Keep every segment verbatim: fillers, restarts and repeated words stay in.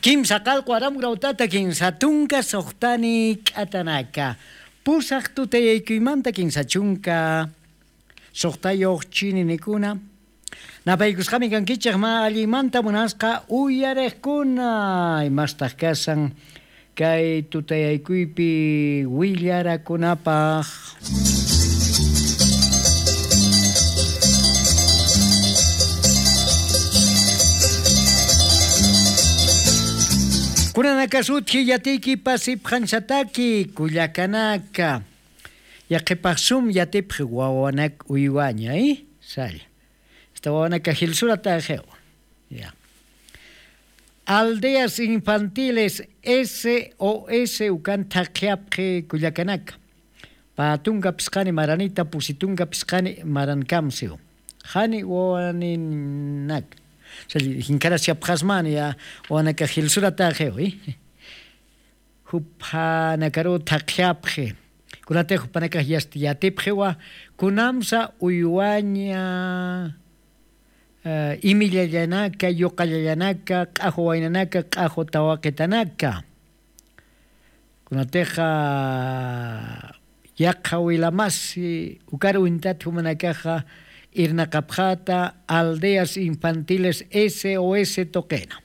Kimsa qallqu aram grawt'ata kinsa tunka suxtani k'atanaka. Pusaq tutayaykuymanta kinsa chunka suxtayuq chininikuna. Napaykusqami kankichik mä alliymanta munasqa uyariqkuna. Imastaq kasan kay tutayaykuypi willarakunapaq. Kunanakasutji yatiyki pasipxanchataki kullakanaka. Yaqhipax sum yatipxi wawanak uywaña, ¿eh? Salla. Esta wawanaka jilsurataxiw. Ya. Aldeas infantiles S O S ukan thaqhiyapxi kullakanaka. Pä tunka phisqani maranita, pusi tunka phisqani marankamsiw. Jani wawaninak. Salla, jinkarasiyapxasmani ya, wawanaka jilsurataxiw, ¿eh? Juphanakaru thaqhiyapxi. Kunatix jupanakax yast-, yatipxiwa, kunamsa uywaña, eh, imillallanaka, yuqallallanaka, q'axu waynanaka, q'axu tawaqitanaka. Kunatixa yaqha wilamasi, ukar uñtat jumanakaxa irnaqapxata, aldeas infantiles S O S tuqina.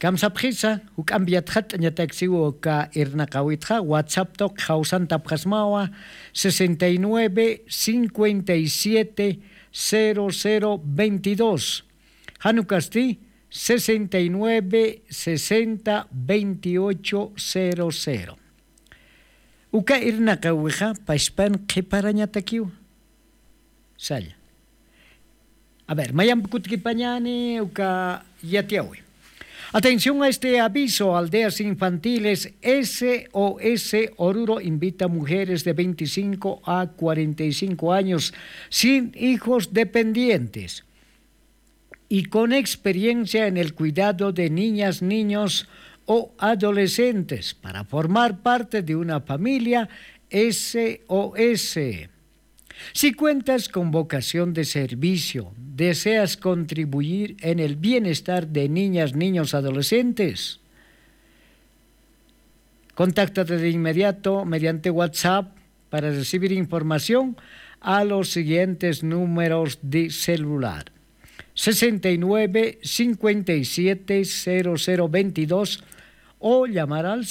Kamsapxisa, juk'ampi yatxat'añataksiw uka irnaqawitxa, WhatsApp tuqi jawsantapxasmawa, sesenta y nueve, cincuenta y siete, cero cero veintidós. Jan ukasti, sesenta y nueve, sesenta, veintiocho, cero cero. Uka irnaqawixa, pachpan qhiparañatakiw. Salla. A ver, mayamp kutkipañani uka yatiyawi. Atención a este aviso, aldeas infantiles S O S Oruro invita a mujeres de veinticinco a cuarenta y cinco años sin hijos dependientes y con experiencia en el cuidado de niñas, niños o adolescentes para formar parte de una familia S O S. Si cuentas con vocación de servicio, deseas contribuir en el bienestar de niñas, niños, adolescentes, contáctate de inmediato mediante WhatsApp para recibir información a los siguientes números de celular: sesenta y nueve, cincuenta y siete, cero cero veintidós, o llamar al